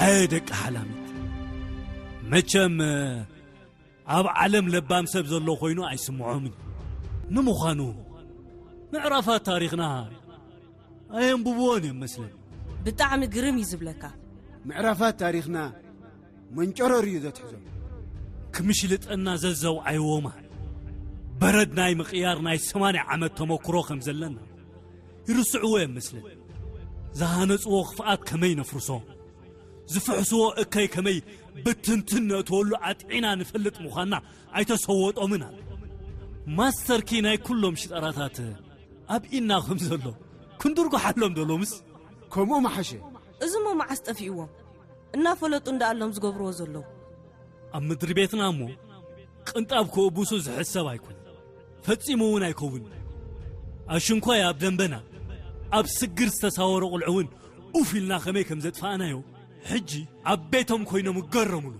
ኣየ ደቂ ሓላሚት፣ መቸም ኣብ ዓለም ለባም ሰብ ዘሎ ኮይኑ ኣይስምዖምን። ንምዃኑ ምዕራፋት ታሪኽና ኣየንብብዎን እዮም መስለኒ። ብጣዕሚ ግርም እዩ ዝብለካ። ምዕራፋት ታሪኽና መንጨረር እዩ ዘትሕዞም። ክምሽልጠና ዘዘውዓይዎ ማል በረድ ናይ ምቕያር ናይ ሰማንያ ዓመት ተመክሮ ከም ዘለና ይርስዕዎ እዮም መስለኒ። ዝሃነጽዎ ክፍኣት ከመይ ነፍርሶ፣ ዝፍሕስዎ እከይ ከመይ ብትንትን ነእትወሉ ኣጥዒና ንፈልጥ ምዃንና ኣይተሰወጦምን ኣለ። ማስተርኪ ናይ ኩሎም ሽጠራታት ኣብ ኢና ከም ዘሎ ክንድርጉሓሎም ዶ ሎምስ? ከምኡ መሓሸ። እዚሞ መዓስ ጠፊእዎም? እናፈለጡ እንዳኣሎም ዝገብርዎ ዘለዉ። ኣብ ምድሪ ቤትና እሞ ቅንጣብ ክእቡሱ ዝሕሰብ ኣይኮን፣ ፈጺሙ እውን ኣይከውን። ኣሽንኳይ ኣብ ደንበና ኣብ ስግር ዝተሳወረ ቁልዑ እውን ኡፍ ኢልና ከመይ ከም ዘጥፋእናዮ ሕጂ ኣብ ቤቶም ኮይኖም እገረሙሉ።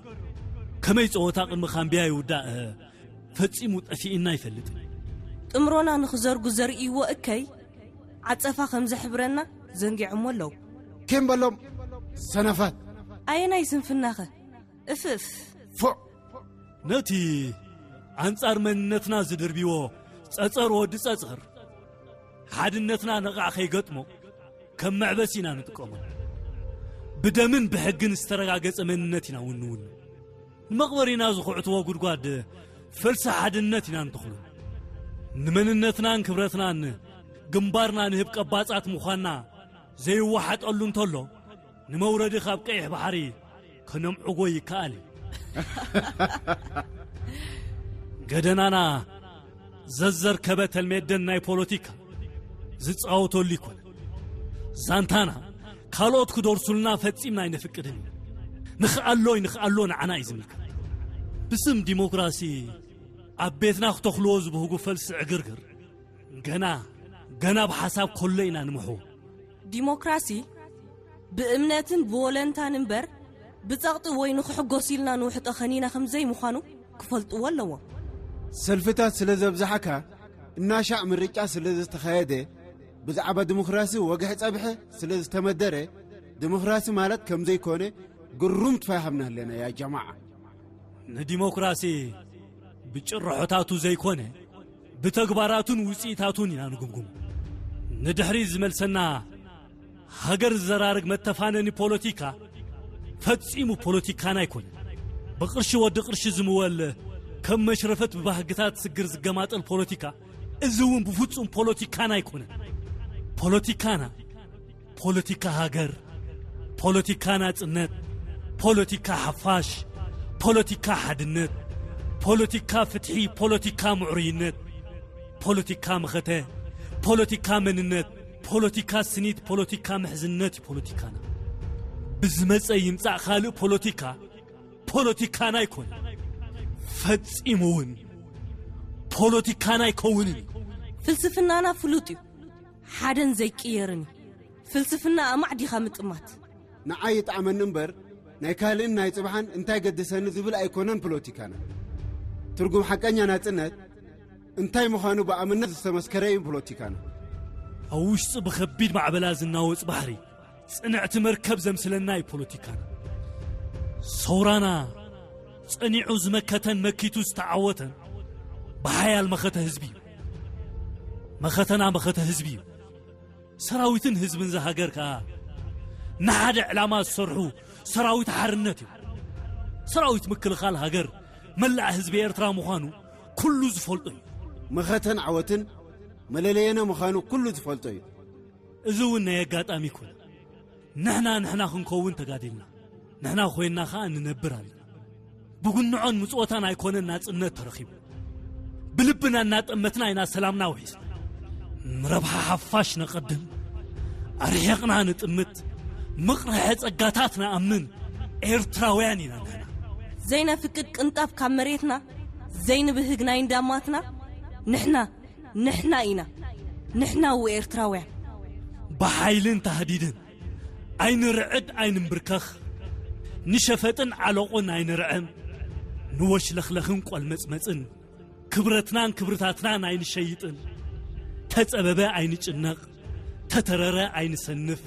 ከመይ ጸወታ ቅድሚ ካምቢያ ይውዳእ ፈጺሙ ጠፊእና ይፈልጥ። ጥምሮና ንኽዘርጉ ዘርእይዎ እከይ ዓጸፋ ከም ዘሕብረና ዘንጊዖሞ ኣለዉ። ኬም በሎም ሰነፋት። ኣየናይ ስንፍናኸ? እፍፍ። ፎዕ ነቲ ኣንጻር መንነትና ዝድርብዎ ጸጸር ወዲ ጸጸር ሓድነትና ነቓዕ ከይገጥሞ ከም መዕበሲ ኢና ንጥቀመሉ። ብደምን ብሕግን ዝተረጋገጸ መንነት ኢና እውን ንውንን። ንመቕበሪና ዝኹዕትዎ ጉድጓድ ፈልሲ ሓድነት ኢና ንተኽሉ። ንመንነትናን ክብረትናን ግንባርና ንህብ ቀባጻት ምዃንና ዘይወሓጠሉ እንተሎ፣ ንመውረዲ ካብ ቀይሕ ባሕሪ ከነምዕጎ ይከኣል እዩ። ገደናና ዘዘርከበ ተልሜደን ናይ ፖለቲካ ዝጻወተሉ ይኮነ። ዛንታና ካልኦት ክደርሱልና ፈጺምና ኣይነፍቅድን እዩ። ንኽኣሎ ንኽኣሎ ንዓና እዩ ዝምልከት። ብስም ዲሞክራሲ ኣብ ቤትና ክተኽልዎ ዝብህጉ ፈልሲ ዕግርግር ገና ገና ብሓሳብ ከሎ ኢና ንምሕዎ። ዲሞክራሲ ብእምነትን ብወለንታን እምበር ብጸቕጢ ወይ ንኽሕጎስ ኢልና ንውሕጦ ኸኒና ከም ዘይምዃኑ ክፈልጥዎ ኣለዎም። ሰልፍታት ስለ ዘብዛሓካ እናሻዕ ምርጫ ስለ ዝተኻየደ ብዛዕባ ዲሞክራሲ ወግሒ ጸብሐ ስለ ዝተመደረ ዲሞክራሲ ማለት ከም ዘይኮነ ግሩም ትፋይ ሃብና ኣለና ያ ጀማዓ። ንዲሞክራሲ ብጭርሖታቱ ዘይኮነ ብተግባራቱን ውጽኢታቱን ኢና ንግምግሙ። ንድሕሪ ዝመልሰና ሃገር ዝዘራርግ መተፋነኒ ፖለቲካ ፈጺሙ ፖለቲካና ኣይኮነን። ብቕርሺ ወዲ ቅርሺ ዝምወል ከም መሽረፈት ብባህግታት ስግር ዝገማጠል ፖለቲካ እዚ እውን ብፍጹም ፖለቲካና ኣይኮነን። ፖለቲካና ፖለቲካ ሃገር፣ ፖለቲካ ናጽነት፣ ፖለቲካ ሓፋሽ፣ ፖለቲካ ሓድነት፣ ፖለቲካ ፍትሒ፣ ፖለቲካ ምዕሩይነት፣ ፖለቲካ መኸተ፣ ፖለቲካ መንነት፣ ፖለቲካ ስኒት፣ ፖለቲካ ምሕዝነት እዩ ፖለቲካና። ብዝመጸ ይምጻእ ካልእ ፖለቲካ ፖለቲካና ኣይኮነን። ፈጺሙ እውን ፖለቲካና ኣይከውንን እዩ። ፍልስፍናና ፍሉጥ እዩ። ሓደን ዘይቅየርን እዩ። ፍልስፍና ኣማዕዲኻ ምጥማት። ንዓይ ይጥዓመኒ እምበር ናይ ካልእን ናይ ጽባሕን እንታይ ገድሰኒ ዝብል ኣይኮነን ፖለቲካና። ትርጉም ሓቀኛ ናጽነት እንታይ ምዃኑ ብኣምነት ዝተመስከረ እዩ ፖለቲካና። ኣብ ውሽጢ ብኸቢድ ማዕበላ ዝናወጽ ባሕሪ ጽንዕቲ መርከብ ዘምስለና እዩ ፖለቲካና። ሰውራና ጸኒዑ ዝመከተን መኪቱ ዝተዓወተን ብሓያል መኸተ ህዝቢ እዩ። መኸተና መኸተ ህዝቢ እዩ። ሰራዊትን ህዝብን ዝሃገር ከኣ ንሓደ ዕላማ ዝሰርሑ ሰራዊት ሓርነት እዩ። ሰራዊት ምክልኻል ሃገር መላእ ህዝቢ ኤርትራ ምዃኑ ኩሉ ዝፈልጦ እዩ። መኸተን ዓወትን መለለየነ ምዃኑ ኩሉ ዝፈልጦ እዩ። እዚ እውን ናይ ኣጋጣሚ ይኮነ። ንሕና ንሕና ክንከውን ተጋዲልና። ንሕና ኮይንና ከኣ ንነብር ኣለና። ብጉንዖን ምጽወታን ኣይኮነን ናጽነት ተረኺቡ። ብልብና እናጠመትና ኢና ሰላምና ውሒስና። ንረብሓ ሓፋሽ ነቐድም፣ ኣርሒቕና ንጥምት፣ ምቕርሐ ጸጋታት ንኣምን ኤርትራውያን ኢና ንሕና። ዘይነፍቅድ ቅንጣብ ካብ መሬትና ዘይንብህግ ናይ እንዳማትና ንሕና ንሕና ኢና። ንሕና ኤርትራውያን። ብሓይልን ታህዲድን ኣይንርዕድ ኣይንንብርከኽ። ንሸፈጥን ዓለቑን ኣይንርዕም። ንወሽለኽለኽን ቆልመጽመጽን ክብረትናን ክብርታትናን ኣይንሸይጥን። ተጸበበ ኣይንጭነቕ፣ ተተረረ ኣይንሰንፍ።